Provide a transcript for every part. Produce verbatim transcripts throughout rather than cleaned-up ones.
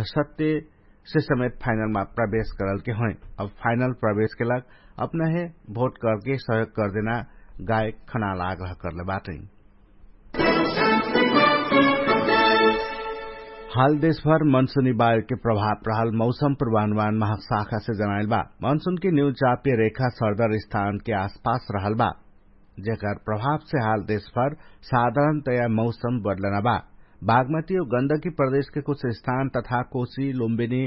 सत्य से समेत फाइनलमा प्रवेश करलके होइ। अब फाइनल प्रवेशके लाग अपनहे भोट करके सहयोग करदेना गायक खनालाग रहकरले बाटै। हाल देशभर मनसुनी बायोके प्रभाव रहल मौसम प्रभानुमान महाशाखासे जनाइल बा। मनसुनके निउचाप्य रेखा सर्दर स्थानके आसपास रहल बा, जेकर प्रभावसे हाल देशभर साधारणतया मौसम बदलना बा। बागमती ओ गन्दकी प्रदेशके कुछ स्थान तथा कोशी लुम्बिनी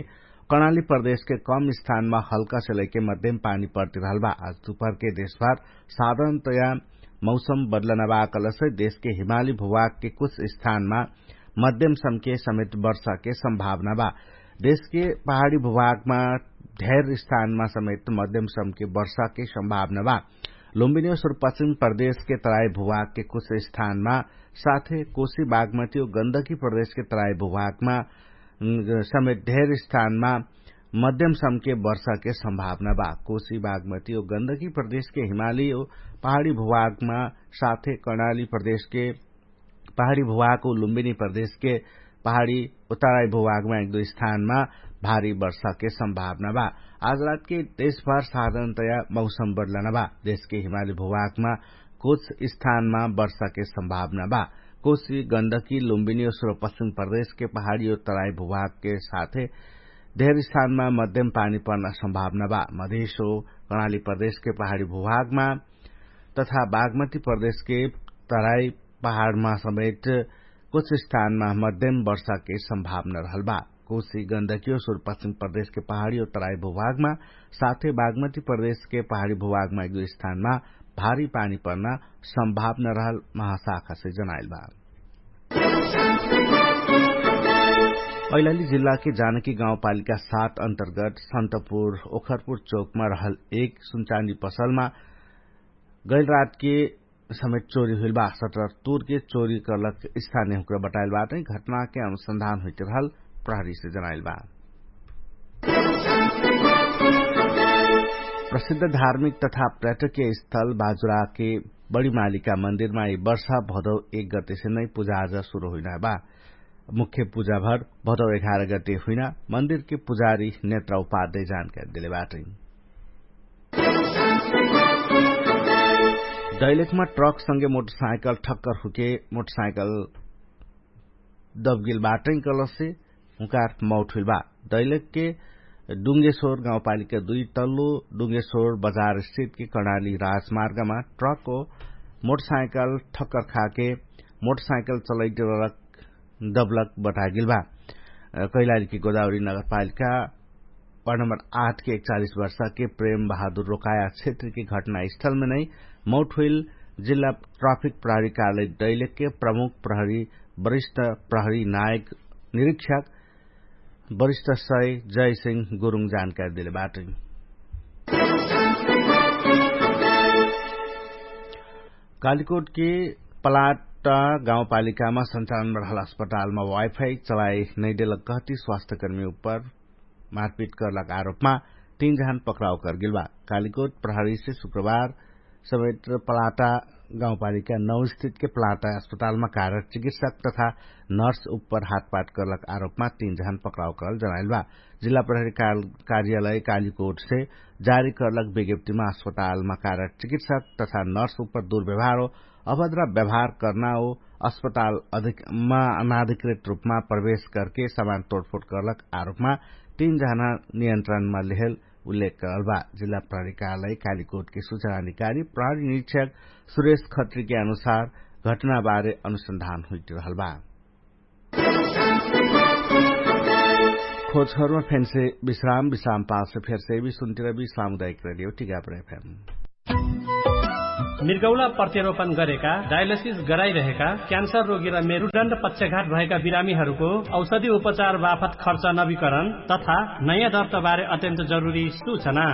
कर्णाली प्रदेशके कम स्थानमा हल्कासे लैके मध्यम पानी पर्तिरहल बा। आज दुपहरके देशभर साधारणतया मौसम बदलना बा कलसे देशके हिमाली भुभागके कुछ स्थानमा मध्यम समके समेत वर्षाके सम्भावना बा। देशके पहाडी भुभागमा धेर स्थानमा समेत मध्यम समके वर्षाके सम्भावना बा। लुम्बिनी ओ सुरपश्चिम प्रदेशके तराई भुभागके कुछ स्थानमा साथे कोशी बागमती ओ गन्दकी प्रदेशके तराई भुभागमा समेत धेर स्थानमा मध्यम समके वर्षाके सम्भावना बा। कोशी बागमती ओ गन्दकी प्रदेशके हिमाली ओ पहाडी भुभागमा साथे कर्णाली प्रदेशके पहाडी भुभाग ओ लुम्बिनी प्रदेशके पहाडी ओ तराई भुभागमा एक दुई स्थानमा भारी वर्षाके सम्भावना बा। आज रातके देशभर साधारणतया मौसम बदलना बा। देशके हिमाली भुभागमा कुछ स्थानमा वर्षाके सम्भावना बा। कोशी गन्दकी लुम्बिनी ओ सुरपश्चिम प्रदेशके पहाडी ओ तराई भुभागके साथे धेर स्थानमा मध्यम पानी पर्ना सम्भावना बा। मधेश ओ कर्णाली प्रदेशके पहाडी भुभागमा तथा बागमती प्रदेशके तराई पहाडमा समेत कुछ स्थानमा मध्यम वर्षाके सम्भावना रहल बा। कोशी गन्दकी ओ सुरपश्चिम प्रदेशके पहाडी ओ तराई भुभागमा साथे बागमती प्रदेशके पहाडी भुभागमा एक दुई स्थानमा भारी पानी पर्ना सम्भावना रहल महाशाखासे जनाइल बा। कैलाली जिल्लाके जानकी गाउँपालिका सात अन्तर्गत सन्तपुर ओखरपुर चोकमा रहल एक सुनचानी पसलमा गैल रातके समेत चोरी हुइल बा। सटर तुरके चोरी कर्लक स्थानीय हुक्र बताइल बाटै। घटनाके अनुसन्धान हुइट रहल प्रहरीसे जनाइल बा। प्रसिद्ध धार्मिक तथा पर्यटकीय स्थल बाजुराके बडी मालिका मन्दिरमा यि वर्षा भदौ एक गतेसे नै पुजाआजा सुरु हुइना बा। मुख्य पुजाभर भदौ एघार गते हुइना मन्दिरके पुजारी नेत्रा उपाध्याय जानकारी देले बाटै। दैलेखमा ट्रकसँगे मोटरसाइकल ठक्कर हुके मोटरसाइकल दबगेल बाटै कलसे हुँकार मौट हुइल बा। दैलेखके डुङ्गेश्वर गाउँपालिका दुई तल्लो डुङ्गेश्वर बजारस्थितके कर्णाली राजमार्गमा ट्रक ओ मोटरसाइकल ठक्कर खाके मोटरसाइकल चलैत रलक दबलक बतागेल बा। कैलालीके गोदावरी नगरपालिका वार्ड नम्बर आठ के एकचालिस वर्षा के प्रेम बहादुर रोकाया क्षेत्र के घटना स्थल में नै मौट होइल जिल्ला ट्राफिक प्रहरी कार्यालय दैलेक के प्रमुख प्रहरी वरिष्ठ प्रहरी नायक निरीक्षक वरिष्ठ सय जय सिंह गुरुङ जानकारी देले बाटै। कालिकोट के पलाट गाउँपालिकामा संचालनमा रहल अस्पतालमा वाइफाई चलाइ नैदेलक कहती स्वास्थ्यकर्मी उपर मारपिट करलक आरोपमा तीन जहान पक्राउ करगेल बा। कालिकोट प्रहरीसे शुक्रबार समेत पलाटा गाउँपालिका नौ स्थितके पलाटा अस्पतालमा कारक चिकित्सक तथा नर्स उपर हातपाट करलक आरोपमा तीन जहान पक्राउ करल जनाइल बा। जिल्ला प्रहरी कार्यालय कालिकोटसे जारी करलक विज्ञप्तिमा अस्पतालमा कारक चिकित्सक तथा नर्स उपर दुर्व्यवहार हो अभद्रा व्यवहार कर्ना ओ अस्पताल अनाधिकृत रूपमा प्रवेश करके समान तोडफोड करलक आरोपमा तीन जहान नियन्त्रणमा लेहेल उल्लेख करल बा। जिल्ला प्रहरी कार्यालय कालिकोटके सुचना अधिकारी प्रहरी निरीक्षक सुरेश खत्रीके अनुसार घटनाबारे अनुसन्धान हुइट रहल बा। खोजखबरमा फेन्से विश्राम विश्राम पालसे फेरसे विश्राम टिका प्रेफेम। मिर्गौला प्रत्यारोपण गरेका डायलिसिस गराइरहेका क्यान्सर रोगी र मेरुदण्ड पक्षघात भएका बिरामीहरूको औषधि उपचार बाफत खर्च नवीकरण तथा नयाँ दर्ताबारे अत्यन्त जरुरी सूचना।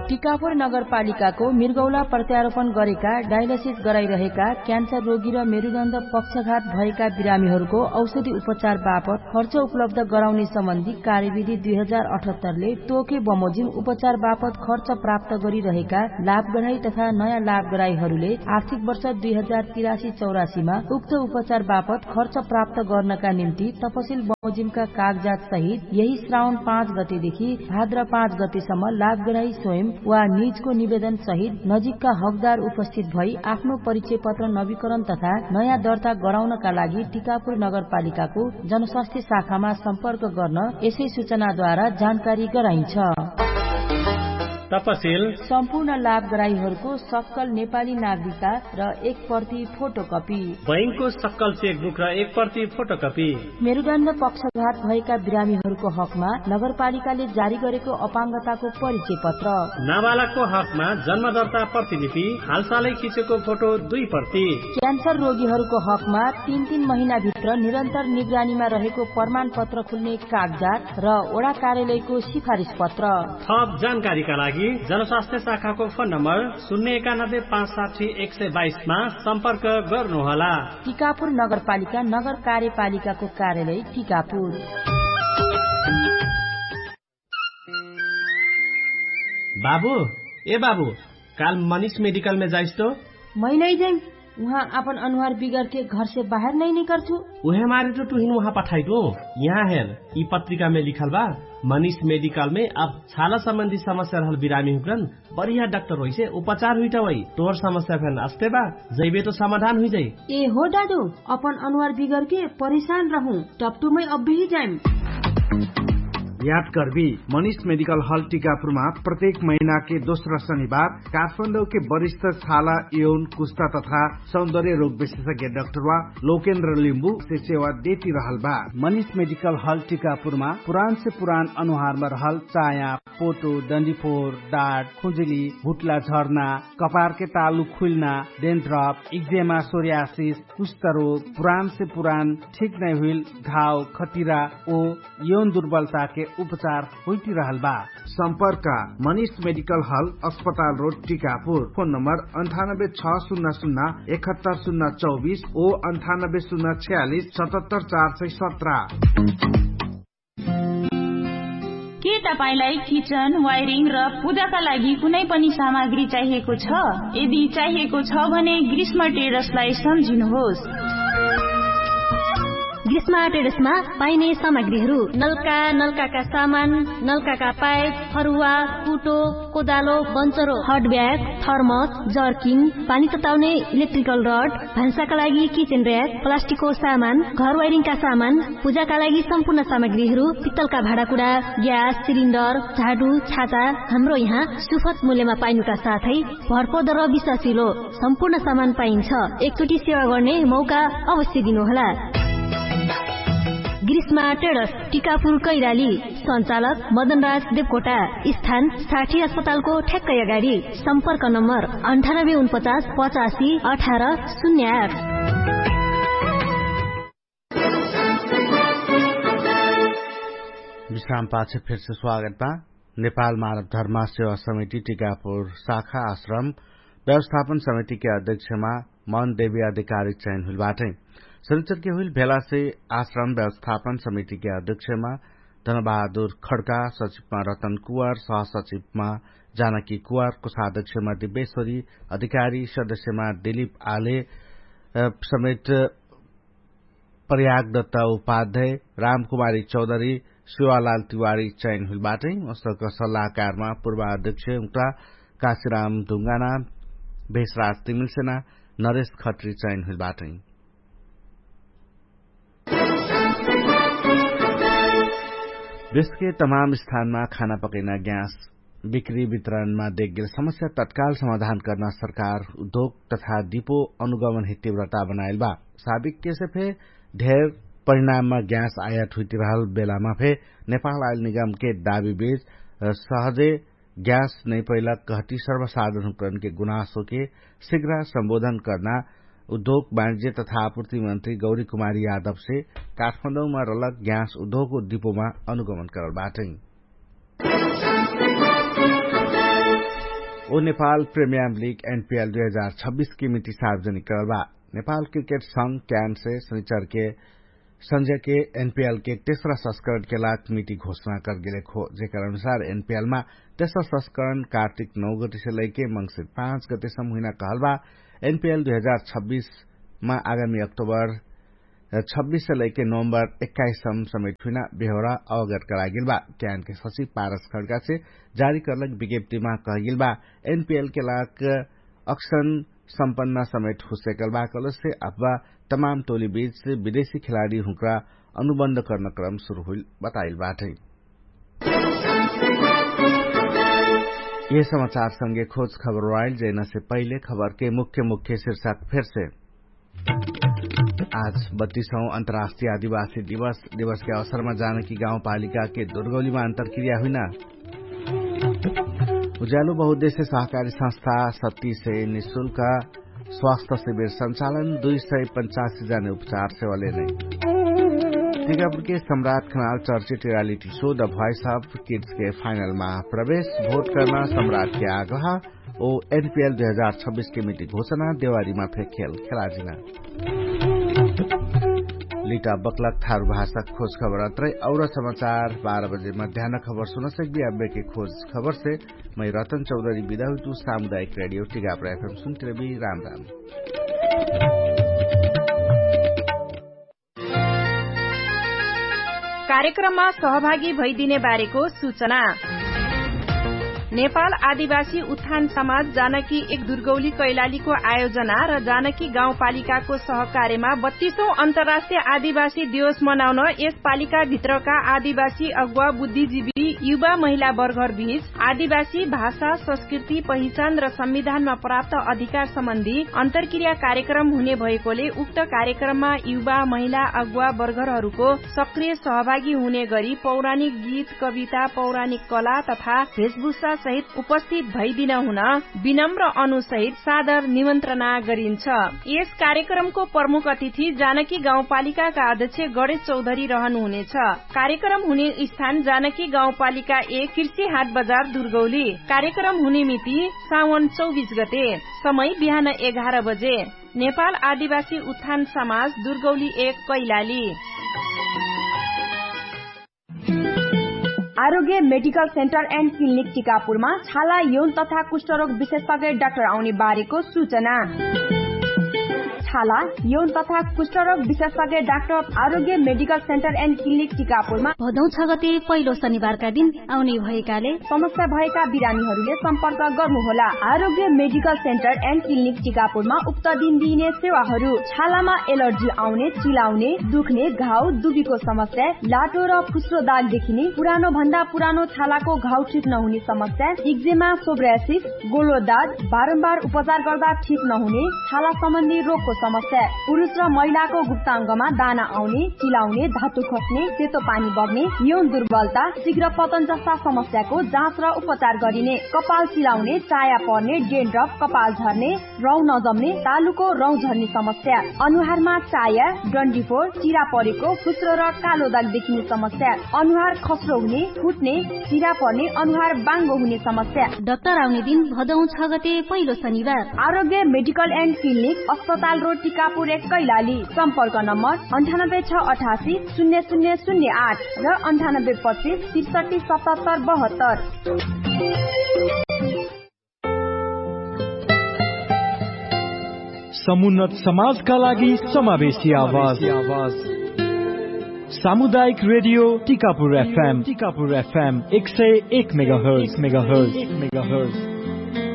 टिकापुर नगरपालिकाको मिर्गौला प्रत्यारोपण गरेका डायलिसिस गराइरहेका क्यान्सर रोगी र मेरुदण्ड पक्षघात भएका बिरामीहरूको औषधि उपचार बापत खर्च उपलब्ध गराउने सम्बन्धी कार्यविधि दुई हजार अठहत्तरले तोके बमोजिम उपचार बापत खर्च प्राप्त गरिरहेका लाभग्राही तथा नयाँ लाभग्राहीहरूले आर्थिक वर्ष दुई हजार तिरासी चौरासीमा उक्त उपचार बापत खर्च प्राप्त गर्नका निम्ति तपसिल बमोजिमका कागजात सहित यही श्रावण पाँच गतेदेखि भाद्र पाँच गतेसम्म लाभग्राही स्वयं वा निजको निवेदन सहित नजिकका हकदार उपस्थित भई आफ्नो परिचय पत्र नवीकरण तथा नयाँ दर्ता गराउनका लागि टिकापुर नगरपालिकाको जनस्वास्थ्य शाखामा सम्पर्क गर्न यसै सूचनाद्वारा जानकारी गराइन्छ। तपसिल सम्पूर्ण लाभग्राहीहरूको सक्कल नेपाली नागरिकता र एक प्रति फोटोकपी। बैंकको सक्कल चेकबुक र एक प्रति फोटोकपी। मेरुदण्ड पक्षघात भएका बिरामीहरूको हकमा नगरपालिकाले जारी गरेको अपाङ्गताको परिचय पत्र। नाबालकको हकमा जन्मदर्ता प्रतिलिपि, हालसालै खिचेको फोटो दुई प्रति। क्यान्सर रोगीहरूको हकमा तीन तीन महिनाभित्र निरन्तर निगरानीमा रहेको प्रमाणपत्र खुल्ने कागजात र वडा कार्यालयको सिफारिस पत्र। थप जानकारीका लागि जनस्वास्थ्य शाखाको फोन नम्बर शून्य एकानब्बे पाँच साठी एक सय बाइसमा सम्पर्क गर्नुहोला। टिकापुर नगरपालिका नगर कार्यपालिकाको कार्यालय टिकापुर। बाबु, ए बाबु, काल मनिष मेडिकलमे जाइस तो? मै नै जाइम। उहाँ आपन अनुहार बिगरके घरसे बाहेर नै निकर्छु। उहे मारे तो तुहिन उहाँ पठाइदु। यहाँ हेर, यि पत्रिकामे लिखल बा, मनिष मेडिकलमे अब छाला सम्बन्धी समस्या रहल बिरामी हुक्रन बढिया डाक्टर होइसे उपचार हुइटा होइ। तोहर समस्या फेन अस्ते बा, जैबे तो समाधान हुइजाइ। ए हो दादु, अपन अनुहार बिगरके परेशान रहु, टपटुमै अब्बेही जाइम। याद करबी, मनिष मेडिकल हल टिकापुरमा प्रत्येक महिनाके दोस्रा शनिबार काठमाडौके वरिष्ठ छाला, यौन, कुस्ता तथा सौन्दर्य रोग विशेषज्ञ डाक्टरवा लोकेन्द्र लिम्बुसे सेवा देति रहल बा। मनिष मेडिकल हल टिकापुरमा पुरानसे पुरान अनुहारमा रहल चाया, पोटो, डन्डीफोर, डाट, खुजुली, हुट्ला झर्ना, कपारके तालु खुइल्ना, डेन्ड्रप, इक्जेमा, सोर्यासिस, कुष्ठरोग, पुरानसे पुरान ठिक नै हुइल घाव, खटिरा ओ यौन दुर्बलताके उपचार होइतिरहल बा। सम्पर्क मनिष मेडिकल हल, अस्पताल रोड, टिकापुर। फोन नम्बर अन्ठानब्बे छ सुन्ना सुन्ना एकहत्तर सुन्ना चौबिस ओ अन्ठानब्बे सुन्ना छयालिस सतहत्तर चार सय सत्र। के तपाईंलाई किचन, वायरिङ र पूजाका लागि कुनै पनि सामग्री चाहिएको छ? यदि चाहिएको छ भने ग्रीष्म ट्रेडर्सलाई सम्झिनुहोस्। ग्रीष्म ट्रेडर्समा पाइने सामग्रीहरू नल्का, नल्काका सामान, नल्काका पाइप, फरुवा, कुटो, कोदालो, बन्चरो, हट ब्याग, थर्मस, जर्किन, पानी तताउने इलेक्ट्रिकल रड, भान्साका लागि किचन र्‍याक, प्लास्टिकको सामान, घर वायरिङका सामान, पूजाका लागि सम्पूर्ण सामग्रीहरू, पित्तलका भाँडाकुडा, ग्यास सिलिन्डर, झाडु, छाता, हाम्रो यहाँ सुफत मूल्यमा पाइनुका साथै भरपर्दो र विश्वासिलो सम्पूर्ण सामान पाइन्छ। एकचोटि सेवा गर्ने मौका अवश्य दिनुहोला। ग्रीष्मा ट्रेडर्स, टिकापुर कैराली। सञ्चालक मदनराज देवकोटा। स्थान साठी अस्पतालको ठ्याक्कै अगाडि। सम्पर्क नम्बर अन्ठानब्बे उनपचास पचासी अठार शून्य आठ। विश्राम पाछ फेरसे स्वागत बा। नेपाल मानव धर्म सेवा समिति टिकापुर शाखा आश्रम व्यवस्थापन समितिके अध्यक्षमा मन देवी अधिकारी चयन हुइल बाटै। शनिचरके हुइल भेलासे आश्रम व्यवस्थापन समितिके अध्यक्षमा धनबहादुर खड्का, सचिवमा रतन कुँवर, सहसचिवमा जानकी कुँवर, कोषाध्यक्षमा दिव्येश्वरी अधिकारी, सदस्यमा दिलीप आले समेत प्रयागदत्त उपाध्याय, रामकुमारी चौधरी, शिवालाल तिवारी चयन हुइल बाटै। उसक सल्लाहकारमा पूर्वाध्यक्ष उक्रा काशीराम ढुङ्गाना, भेषराज तिमिलसेना, नरेश खत्री चयन हुइल बाटै। देशके तमाम स्थानमा खाना पकैना ग्यास बिक्री वितरणमा देख्गेल समस्या तत्काल समाधान कर्ना सरकार उद्योग तथा दिपो अनुगमनहे तीव्रता बनाइल बा। साबिक केसे फे ढेर परिणाममा ग्यास आयात हुइतिरहल बेलामा फे नेपाल आइल निगमके दाबी बेच सहजे ग्यास नैपैला कहती सर्वसाधनकरणके गुनासोके सिग्रा सम्बोधन कर्ना उद्योग वाणिज्य तथा आपुर्ति मन्त्री गौरी कुमारी यादवसे काठमाडौमा रलक ग्यास उद्योग दिपोमा अनुगमन करल बाटै। ओ नेपाल प्रिमियम लिग एनपिएल दुई हजार छब्बिस के मिति सार्वजनिक करल बा। नेपाल क्रिकेट संघ क्यान से शनिचर के संझ्या के एनपिएल के तेसरा संस्करण के लाग मिति घोषणा करगेले खो, जेकर अनुसार एनपिएल मा तेसरा संस्करण कार्तिक नौ गति से लैके मंगसिर पाँच गति सम्म हुइना कहल बा। एनपिएल दुई हजार छब्बिस मा आगामी अक्टोबर छब्बिस से लैके नोभम्बर एक्काइस सम्म समेट हुइना बेहोरा अवगत करागेल बा। क्यान के सचिव पारस खड्का से जारी करलक विज्ञप्तिमा कहगेल बा, एनपिएल के लाग अक्सन सम्पन्न समेट हुसेकल बा कलसे अथवा तमाम टोली बीच विदेशी खेलाडी हुँक्रा अनुबन्ध कर्न क्रम सुरु हुइल बताइल बाटै। यह समाचार संगे खोज खबर वाइल जैना से पहिले खबर के मुख्य मुख्य शीर्षक फेर से। आज बत्तीसौं अन्तर्राष्ट्रिय आदिवासी दिवस दिवस के अवसरमा जानकी गाउँपालिका के दुर्गौलीमा अन्तरक्रिया हुइना। उज्यालो बहुद्देश्य सहकारी संस्था सत्ती से निशुल्क स्वास्थ्य शिविर संचालन दुई सय पचासी जाने उपचार सेवा लेने। टिकापुर के सम्राट खनाल चर्चित reality show the voice of kids के फाइनल मा प्रवेश भोट कर्ना सम्राट के आग्रह। ओ एनपिएल दुई हजार छब्बिस के मिति घोषणा देवारी मा फेर खेल खेलाजिना। लिटा बक्लक थारु भाषा खोज खबर अत्रै और समाचार बाह्र बजे मध्यान खबर सुनसक भी अब्बे के खोज खबर से मै रतन चौधरी बिदा हुइतु। सामुदायिक रेडियो टिगाप्रा एफएम सुन्तिरबी। राम राम। कार्यक्रममा सहभागी भइदिने बारेको सुचना। नेपाल आदिवासी उत्थान समाज जानकी एक दुर्गौली कैलालीको आयोजना र जानकी गाउँपालिकाको सहकार्यमा बत्तीसौं अन्तर्राष्ट्रिय आदिवासी दिवस मनाउन यस पालिकाभित्रका आदिवासी अगुवा बुद्धिजीवी युवा महिला वर्गहरूबीच आदिवासी भाषा संस्कृति पहिचान र संविधानमा प्राप्त अधिकार सम्बन्धी अन्तरक्रिया कार्यक्रम हुने भएकोले उक्त कार्यक्रममा युवा महिला अगुवा वर्गरहरूको सक्रिय सहभागी हुने गरी पौराणिक गीत कविता पौराणिक कला तथा भेषभूषा सहित उपस्थित भइदिन हुन विनम्र अनुसहित सादर निमन्त्रणा गरिन्छ। यस कार्यक्रमको प्रमुख अतिथि जानकी गाउँपालिकाका अध्यक्ष गणेश चौधरी रहनु हुनेछ। कार्यक्रम हुने स्थान जानकी गाउँपालिका एक कृषि हाट बजार दुर्गौली। कार्यक्रम हुने मिति सावन चौबीस गते। समय बिहान एघार बजे। नेपाल आदिवासी उत्थान समाज दुर्गौली एक कैलाली। आरोग्य मेडिकल सेन्टर एन्ड क्लिनिक टिकापुरमा छाला यौन तथा कुष्ठरोग विशेषज्ञ डाक्टर आउने बारेको सुचना। छाला यौन तथा कुष्ठरोग विशेषज्ञ डाक्टर आरोग्य मेडिकल सेन्टर एन्ड क्लिनिक टिकापुरमा भदौ छ गते पहिलो शनिबारका दिन आउने भएकाले समस्या भएका बिरामीहरूले सम्पर्क गर्नुहोला। आरोग्य मेडिकल सेन्टर एन्ड क्लिनिक टिकापुरमा उक्त दिन दिइने सेवाहरू छालामा एलर्जी आउने चिलाउने दुख्ने घाउ दुबीको समस्या लाटो र फुस्रो दाग देखिने पुरानो भन्दा पुरानो छालाको घाउ ठिक नहुने समस्या इक्जेमा सोब्रासिस गोलो दाग बारम्बार उपचार गर्दा ठिक नहुने छाला सम्बन्धी रोगको समस्या पुरुष र महिलाको गुप्ताङ्गमा दाना आउने चिलाउने धातु खस्ने सेतो पानी बग्ने यौन दुर्बलता शीघ्र पतन जस्ता समस्याको जाँच र उपचार गरिने कपाल चिलाउने चाया पर्ने डेन्ड्रप कपाल झर्ने रौँ नजम्ने तालुको रौँ झर्ने समस्या अनुहारमा चाया डन्डीफोर चिरा परेको फुस्रो र कालो दाग देखिने समस्या अनुहार खस्रो हुने फुट्ने चिरा पर्ने अनुहार बाङ्गो हुने समस्या। डाक्टर आउने दिन भदौ छ गते पहिलो शनिबार। आरोग्य मेडिकल एन्ड क्लिनिक अस्पताल रोड टिकापुर एक कैलाली। सम्पर्क नम्बर अन्ठानब्बे छ अठासी शून्य शून्य शून्य आठ र अन्ठानब्बे पच्चिस त्रिसठी सतहत्तर बहत्तर। समुन्नत समाजका लागि समावेशी आवाज। सामुदायिक रेडियो टिकापुर एफएम टिकापुर एफएम एक सय एक मेगाहर्ज मेगाहर्ज मेगाहर्ज।